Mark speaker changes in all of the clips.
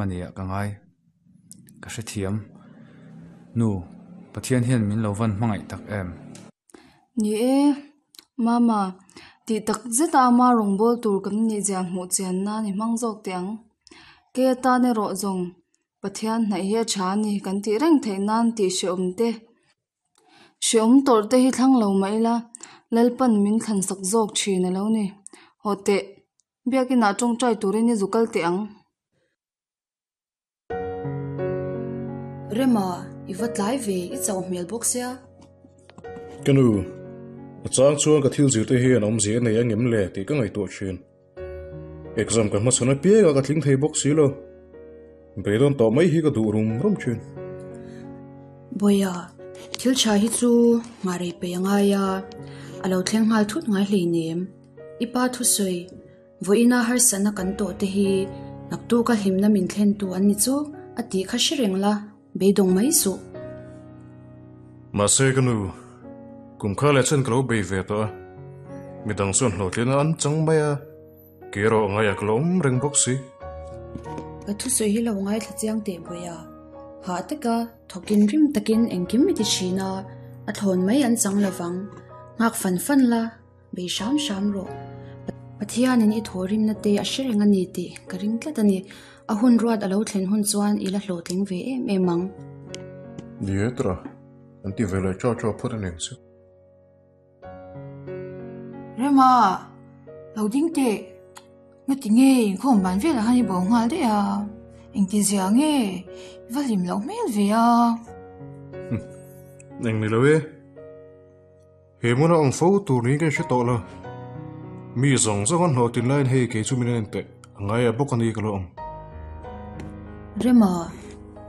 Speaker 1: A nia ka ngai. Ka hrethiam. Nu, Pathian hian min lo van hmangaih tak em?
Speaker 2: Ni e, Mama, tih tak zeta ama rawngbâwl tur kan nih zia hmuh chian nan i hmang zawk teh ang. Kei atan erawh zawng Pathian hnaih hi a tha a ni kan tih reng theih nan tih hrehawm te. Hrehawm tawrh te hi thlang lo mah ila Lalpan min thlan sak zawk thin a lo ni. Haw teh, Biakinah tawngtai turin i zu kal teh ang.
Speaker 3: Rema, i va tlai ve, i chauh hmel bawk sia.
Speaker 4: Ka nu, a chang chuan ka thil zirte hian awmzia a nei angem le tih ka ngaihtuah thin. Exam ka hmachhawn apiang a ka tling thei bawk si lo. Beidawn tawh mai hi ka duh rum rum thin.
Speaker 3: Bawiha, thil tha hi chu nghah rei peih a ngai a, a lo thleng nghal thut ngai hleinem. I pa thusawi, Vawiina harsatna kan tawh te hi naktuka hlimna min thlentu an ni chu a tih kha hre reng la, beidawng mai suh.
Speaker 4: Mahse ka nu, kum kha leh chuan ka lo bei ve tawh a, midang chuan hlawhtlina an chang mai a, kei erawh ngaiah ka lo awm reng bawk si.
Speaker 3: Ka thusawi hi lo ngaithla chiang teh Bawiha, hah taka thawkin rim takin engkim i ti thin a, a thlawn mai an chang lovang, nghak fan fan la. Bei hram hram rawh. Pathianin i thawhrimna te a hre reng a ni tih ka ring tlat a ni. A hun ruat a lo thlen hun chuan i la hlawhtling ve em em ang.
Speaker 4: Ni e tura, an ti ve leh chaw chaw phawt a ning chu.
Speaker 5: Rema, lo ding teh. Ngati nge inkhawm ban velah khan i bo nghal daih a? Engti zia nge? I va hlim loh hmel ve a.
Speaker 4: Eng ni lo e. He hmuna awm fo tur niin ka inhre tawh lo. Mi zawng zawng an hlawhtlin laiin hei kei chu min en teh a ngai a bawk a ni ka lo awm.
Speaker 3: Rema,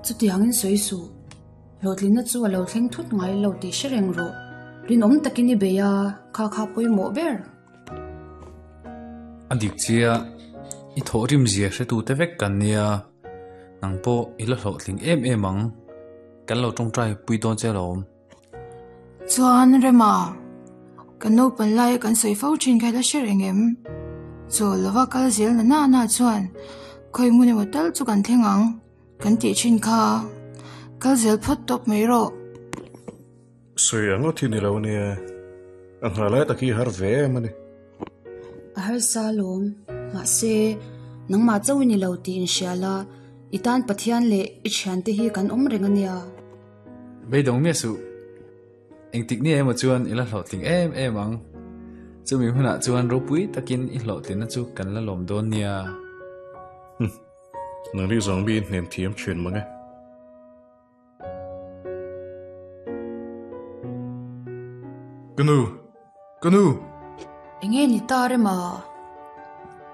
Speaker 3: chutiangin sawi suh. Hlawhtlinna chu a lo thleng thut ngai lo tih hre reng rawh. Rinawm takin i bei a, kha kha pawimawh ber.
Speaker 1: A dik chiah, i thawhrim zia hretute vek kan nia, nang pawh i la hlawhtling em em ang. Kan lo tawngtai pui dawn che alawm.
Speaker 5: Chuan Rema, kan naupan laia kan sawi fo thin kha i la hre reng em? Chawl lova kal zel na na na chuan khawi hmun emaw tal chu kan thleng ang kan tih thin kha. Kal zel phawt tawp mai rawh.
Speaker 4: Sawi ang ngawt hi ni lo ania, a nghah lai tak hi a har ve em a ni.
Speaker 3: A harsa alawm, mahse nangmah chauh i ni lo tih inhria la, i tan Pathian leh i thiante hi kan awm reng ania.
Speaker 1: Beidawng miah suh. Engtik ni emaw chuan i la hlawhtling em em ang. Chumi hunah chuan ropui takin i hlawhtlinna chu kan la lawm dawn nia.
Speaker 4: Humm. Nang ri zawng mi in hnem thiam thin mang e. Ka nu! Ka nu!
Speaker 3: Enge ni ta rema?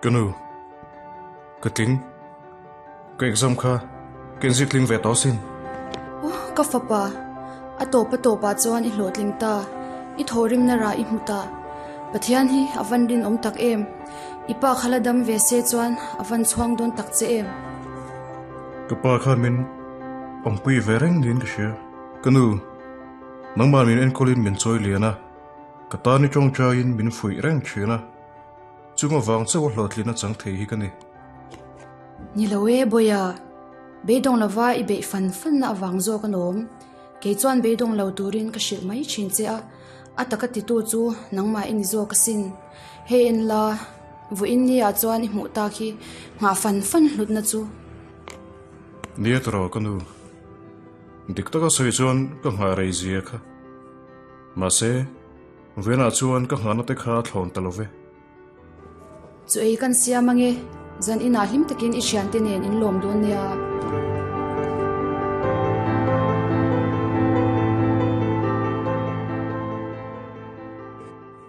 Speaker 4: Ka nu, ka tling. Ka exam kha ka inzir tling ve tawh asin.
Speaker 3: Aw, ka fapa, a tawp a tawpah chuan i hlawhtling ta, i thawhrimna rah i hmu ta. Pathian hi a van rinawm tak em? I pa kha la dam ve se chuan a van chhuang dawn tak che em?
Speaker 4: Ka pa khan min awmpui ve reng niin ka hria. Ka nu, nangmah min enkawlin min chawi lian a. Ka tan i tawngtaiin min fuih reng thin a, chung avang chauh a hlawhtlin a chang thei hi ka ni.
Speaker 3: Ni lo e Bawiha, beidawng lova i beih fan fanna avang zawk a lawm. Kei chuan beidawng lo turin ka hrilh mai thin che a, a taka titu chu nangmah i ni zawk asin. Hei en la, vawiin ni ah chuan i hmuh tak hi nghah fan fan hlutna chu.
Speaker 4: Nia tawrh ka nu, dik taka sawi chuan ka nghah rei zia kha. Mahse, Venah chuan ka nghahna te kha a thlawn ta lo ve.
Speaker 3: Chu ei kan siam ange, zan inah hlim takin i thiante nen in lawm dawn nia.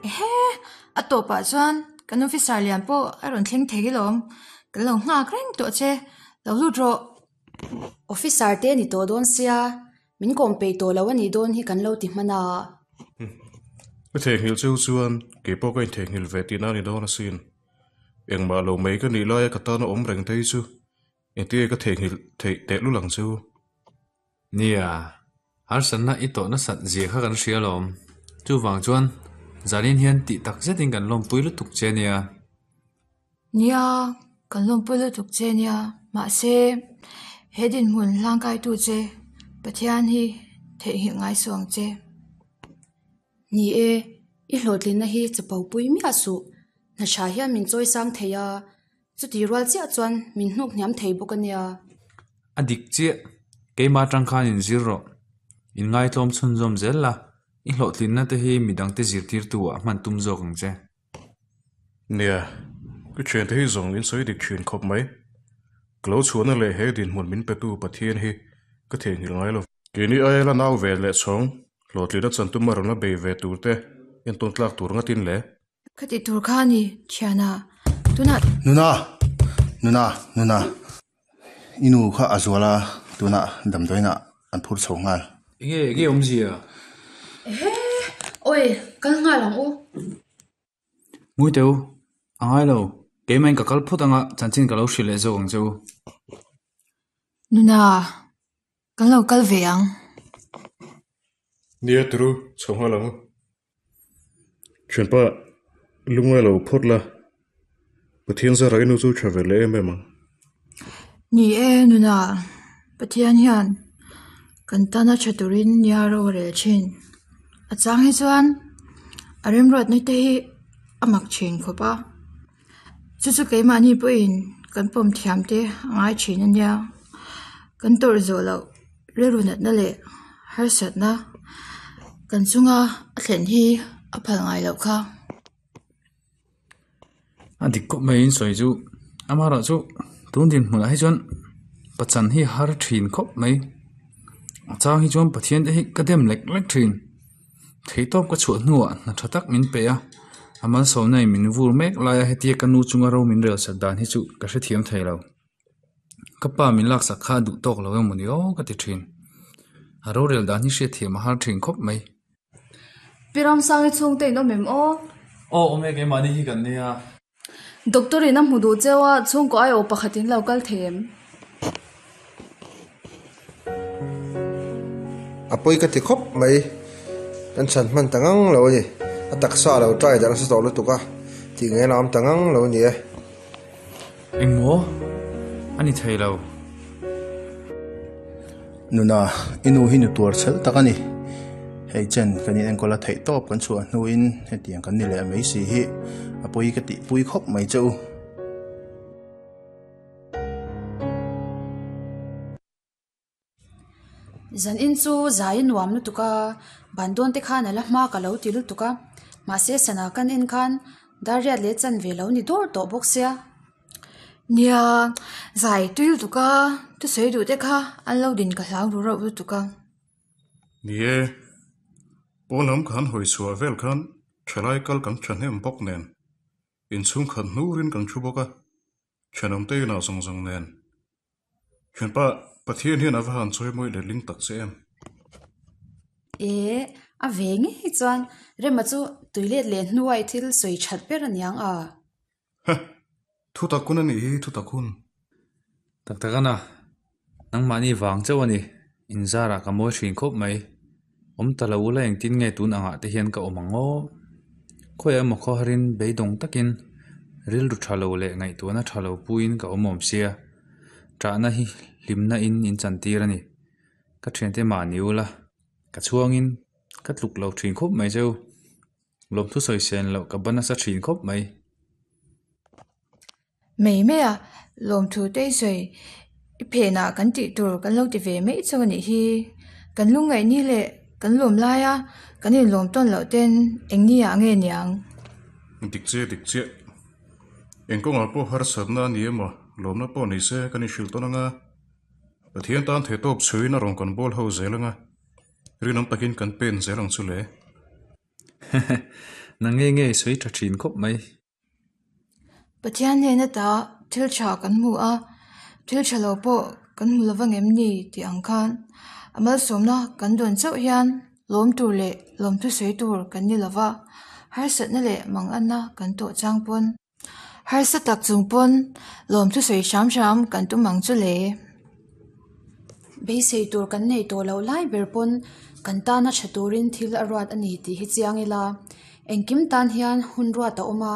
Speaker 5: Ehe, a tawpah chuan kan officer lian pawh a rawn thleng thei alawm, kan lo nghak reng tawh che, lo lut rawh.
Speaker 3: Officer te ni tawh dawn sia, Min kawm peih tawh lo a nih dawn hi kan lo ti hman a.
Speaker 4: Ka theihnghilh cheu chuan kei pawh ka intheihnghilh ve tihna a ni dawn asin. Engmah lo mai ka nih laia ka tana awm reng te hi chu engtinge ka theihnghilh theih tehlul ang chu.
Speaker 1: Nia, harsatna i tawh nasat zia kha kan hria alawm. Chuvang chuan zanin hian tih tak zetin kan lawmpui lutuk che nia.
Speaker 5: Nia, kan lawmpui lutuk che nia. Mahse, he dinhmun hlangkaitu che Pathian hi theihnghilh ngai suh ang che.
Speaker 3: Ni e, i hlawhtlinna hi chapo pui miah suh. Hna tha hian min chawi sang thei a, chuti rual chiah chuan min hnuk hniam thei bawk a nia.
Speaker 1: A dik chiah, keimah atang khan inzir rawh. Inngaihtlawm chhunzawm zel la, i hlawhtlinna te hi midangte zirtirtu ah hman tum zawk ang che.
Speaker 4: Nia, ka thiante hi zawng in sawi dik thin khawp mai. Ka lo chhuahna leh he dinhmun min petu Pathian hi ka theihnghilh ngai lo. Keini aia la nau ve leh chhawng, hlawhtlina chantum a rawn la bei ve tur te entawn tlak tur ngatin le.
Speaker 5: Ka ti tur kha a ni, thiana. Tunah.
Speaker 6: Nuna! Nuna! Nuna! I nu kha a zual a, tunah damdawiinah an phur chho nghal.
Speaker 1: Enge enge awmzia?
Speaker 3: Ehe! Awi, kal nghal ang u.
Speaker 1: Ngui teh u, a ngai lo. Keimahin ka kal phawt anga chanchin ka lo hrilh leh zawk ang che u.
Speaker 5: Nuna, kan lo kal ve ang.
Speaker 4: Nia turu, chho nghal ang u. Thianpa, lungngai lo phawt la, Pathian zara i nu chu tha ve leh em em ang.
Speaker 5: Ni e, nuna, Pathian hian kan tana tha turin nia ro a rel thin. A chang hi chuan a remruatna te hi a mak thin khawp a, chu chu keimahni pawhin kan pawm thiam te a ngai thin a nia. Kan tawrh zawh loh rilru natna leh harsatna kan chunga a thlen hi a phal ngai loh kha.
Speaker 1: A dik khawp mai in sawi chu amaherawh chu tun dinhmunah hi chuan pachan hi a har thin khawp mai a chang hi chuan Pathian te hi ka dem lek lek thin theihtawp ka chhuah hnuah hna tha tak min pe a a malsawmna in min vur mek lai a hetia ka nu chunga ro min rel sak dan hi chu ka hrethiam thei lo ka pa min laksak kha a duh tawk lo emaw ni aw ka ti thin a rorel dan hi hriatthiam a har thin khawp mai.
Speaker 2: Pi Ramsangi chhungte in awm em aw?
Speaker 1: Aw awm e keimahni hi kan nia.
Speaker 2: Doctor in a hmu duh cheu a, chhungkaw aiawh pakhat in lo kal thei em?
Speaker 7: A pawi ka ti khawp mai. Kan chhan hman ta ngang lo a ni. A taksa a lo try darh nasa tawh lutuk a, tih ngei a awm ta ngang lo a ni e.
Speaker 1: Engmaw? A ni thei lo.
Speaker 6: Nuna, i nu hi nu tuar chhel tak a ni. Hei chen kan in enkawl a theih tawp kan chhuah hnuin hetiang kan ni leh mai si hi a pawi ka tihpui khawp mai che u.
Speaker 3: Zan in chu zai a nuam lutuk a, ban dawn te khan a la hma ka lo ti lutuk a, mahse sana kan en khan dar riat leh chan ve lo ni dawr tawh bawk sia.
Speaker 5: Nia, zai tui lutuk a, thusawi duh te kha an lo din ka hlau ru reuh lutuk a.
Speaker 4: Ni e, pawn lam khan hawi chhuah vel khan thalai kal kan thahnem bawk nen, inchhungkhat hnurin kan thu bawk a, thenawmte inah zawng zawng nen. Thianpa, Pathian hian a va han chawi mawi letling tak che em?
Speaker 3: E, a ve ngei chuan Rema chu tui let leh hnuai thil sawi that ber a niang a.
Speaker 4: Ha! Thu tak hun a nih hi, thu tak hun.
Speaker 1: Tak tak ana, nangmahni vang chauh a ni, inzarah ka mawi thin khawp mai. Awm ta lo ula engtin nge tun angah te hian ka awm ang aw? Khawiah emaw khawharin beidawng takin rilru tha lo leh ngaihtuahna tha lo puiin ka awm awm sia. Ṭahna hi hlimna in in chantir a ni. Ka ṭhiante mahni ula, ka chhuangin ka tluk lo ṭhin khawp mai cheu. Lawmthu sawi sen loh ka ban nasa ṭhin khawp mai.
Speaker 5: Mai mai a, lawmthu te i sawi i phenah kan tih tur kan lo ti ve mai chauh a nih hi. Kan lungngaih ni leh kan lawm laia kan inlawm tawn loh ten eng ni ah nge niang?
Speaker 4: Dik chiah dik chiah. Eng kawngah pawh harsatna a ni emaw lawmna pawh ni se kan inhrilh tawn anga, Pathian tan theihtawp chhuiin a rawn kan bawl ho zel anga, rinawm takin kan pen zel ang chu le.
Speaker 1: Nang nge nge i sawi tha thin khawp mai.
Speaker 5: Pathian hnena ta thil tha kan hmu a, thil tha lo pawh kan hmu lo vang em ni tih ang khan a malsawmna kan dawn chauh hian lawm tur leh lawmthu sawi tur kan ni lo va, harsatna leh manganna kan tawh chang pawn harsa tak chung pawn lawmthu sawi hram hram kan tum ang chu le.
Speaker 3: Beisei tur kan nei tawh loh lai ber pawn kan tana tha turin thil a ruat a ni tih hi chiang ila. Engkim tan hian hun ruat a awm a,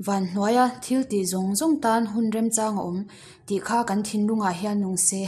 Speaker 3: van hnuaia thil tih zawng zawng tan hun remchang a awm tih kha kan thinlungah hian nung se.